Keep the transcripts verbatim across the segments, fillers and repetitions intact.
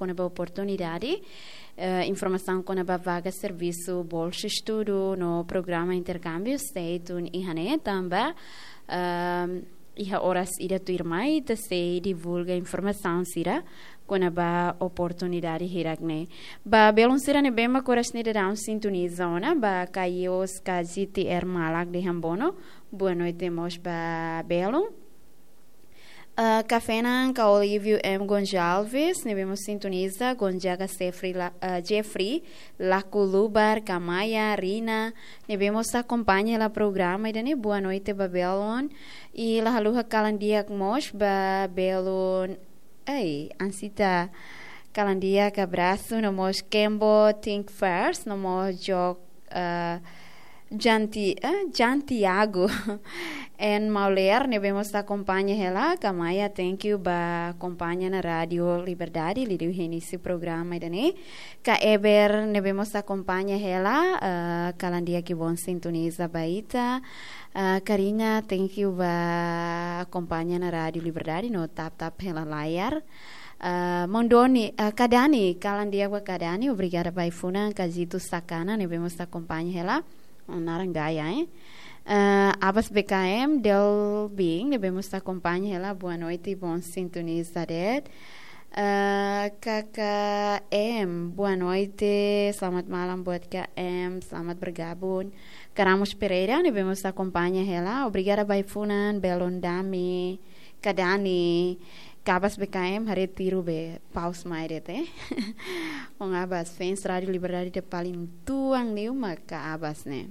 kona-ba oportunidade, eh, informasaun kona-ba vaga servisu, bolsa estudu no programa interkámbiu sei tun iha ne'e tanba, ehm, iha oras ida tuirmai ita sei divulga informasaun sira kona-ba oportunidade hirak ne'e. Ba belun sira ne'ebé mak oras ne'e daudaun sintoniza ona, ba Kaios ka G T R Malak dehan boa no-, boa noite mós ba belun. Ah, Kafenan ka Olívio M Gonçalves, ne'ebé mós sintoniza, Gonzaga Jeffrey La-, ah, Jeffrey, Laku Lubar, Kamaya, Rina, ne'ebé mós akompaña hela programa ida-ne'e, boa noite ba belun. I la haluha kalan di'ak mós ba belun, ei, Ansita, kalan di'ak, abrasu, no mós Kembo, Think First, no mós Jok, eh, Janti-, eh, Jantiago. En Mauler, ne'ebé mós akompaña hela, Kamaya, thank you ba akompaña ona Rádiu Liberdade, liuliu iha inísiu programa ida-ne'e. Ka Eber, ne'ebé mós akompaña hela, eh, kalan di'ak, boa sintoniza ba ita. Eh, Karina, thank you ba akompaña ona Rádiu Liberdade, no tap-tap hela layar. Eh, Mondoni, eh, Kadani, kalan di'ak ba Kadani, obrigada ba ai-funan, Kazito Sakana, ne'ebé mós akompaña hela, naran gaya, eh. Eh, Abas B K M, Delbing, ne'ebé mós akompaña hela, boa noite, bom sintonizar. Eh, K K M, boa noite, selamat malam buat K M, selamat bergabung. Karamos Pereira, ne'ebé mós akompaña hela, obrigada ba ai-funan, belun Dami, Kadani, Kabas B K M, haree tiru be, paus mai de'it, eh. Maun Abas, fans Rádiu Liberdade ida paling tuan liu mak Ka Abas ne'e.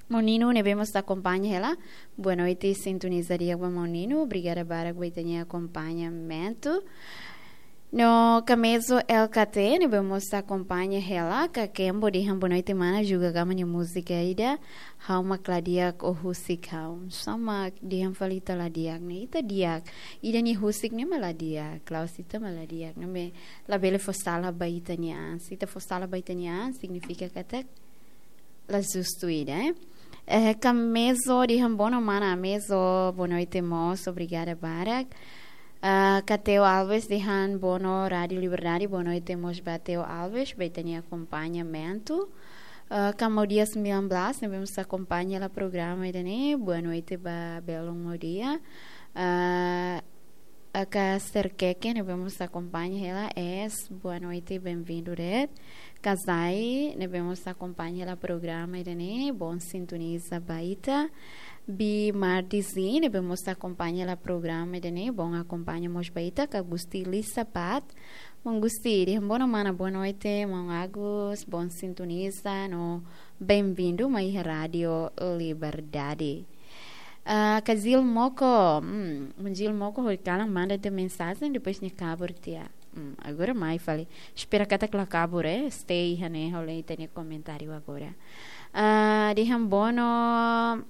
Maun Nino, ne'ebé mós akompaña hela. Boa noite, sintoniza di'ak ba Maun Nino. Obrigada barak ba ita-nia akompañamentu. No Kamezo L K T, ne'ebé mós akompaña hela. Ka Kembo dehan boa noite mana, Juga Gama nia múzika ida, ha'u mak la di'ak ou husik ha'u. Sá mak dehan fali ita la di'ak ne'e. Ita di'ak. Ida-ne'e husik ne'e mak la di'ak. Klaus, ita mak la di'ak. Ne'ebé labele fó sala ba ita-nia an. Se ita fó sala ba ita-nia an, signifika katak la justu ida, eh. Eh, Kamezo dehan boa no mana Amezo, boa noite mós, obrigada barak. Ah, Kateo Alves dehan boa no Rádiu Liberdade, boa noite mós ba Teo Alves, ba ita-nia akompañamentu. Ah, Kamaudia sembilan belas, ne'ebé mós akompaña hela programa ida-ne'e, boa noite ba belun Maudia. Ah, Aka Serkeke, ne'ebé mós akompaña hela, es, boa noite, bem-vindo de'it. Kazai, ne'ebé mós akompaña hela programa ida-ne'e, bom sintoniza ba ita. Bi Mardizin, ne'ebé mós akompaña hela programa ida-ne'e, bom akompaña mós ba ita. Ka Gusti Lisapat, maun Gusti, dehan boa no mana, boa noite, maun Agus, bom sintoniza, no bem-vindo mai Rádiu Liberdade. Ah, Kazil Moko, hmm, Kazil Moko, hori kalan manda ita mensajen, depois nia kabur tiha. Hmm, agora mai fali. Espera katak la kabur, eh, stay iha ne'e, ha'u lee ita-nia komentáriu agora. Ah, dehan boa no,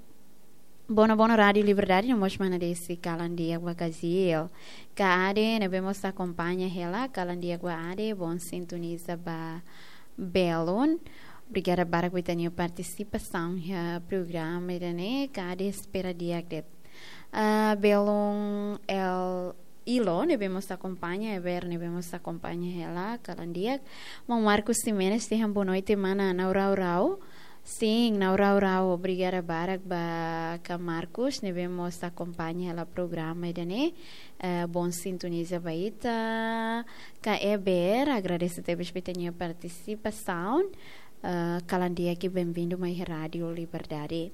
boa no, boa no Rádiu Liberdade, no mós mana desi kalan di'ak ba Kazil. Ka Ade, ne'ebé mós akompaña hela, kalan di'ak ba Ade, bom sintoniza ba belun. Obrigada barak ba ita-nia partisipasaun iha programa ida-ne'e, Ka Ade, espera di'ak de'it. Ah, belun El Ilo, ne'ebé mós akompaña, Eber, ne'ebé mós akompaña hela, kalan di'ak. Maun Marcos Ximenes dehan boa noite mana, nau rau rau. Sin, nau rau rau, obrigada barak ba Ka Marcos, ne'ebé mós akompaña hela programa ida-ne'e. Eh, bom sintoniza ba ita. Ka Eber, agradese tebes ba ita-nia partisipasaun. Eh, kalan di'ak, bem-vindo mai Rádiu Liberdade.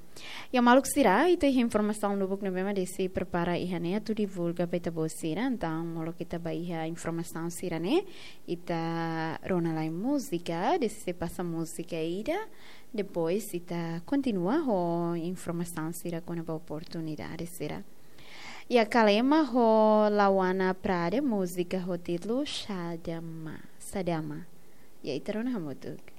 Ya maluk sira, ita iha informasaun lubuk ne'ebé mak desi prepara iha ne'e atu divulga ba ita-boot sira. Entaun, molok ita ba iha informasaun sira-ne'e, ita rona lai múzika, desi sei pasa múzika ida. Depois ita kontinua ho informasaun sira kona-ba oportunidade sira. Ya Kalema ho Lawana Prade, múzika ho títulu Sadama, Sadama. Ya ita rona hamutuk.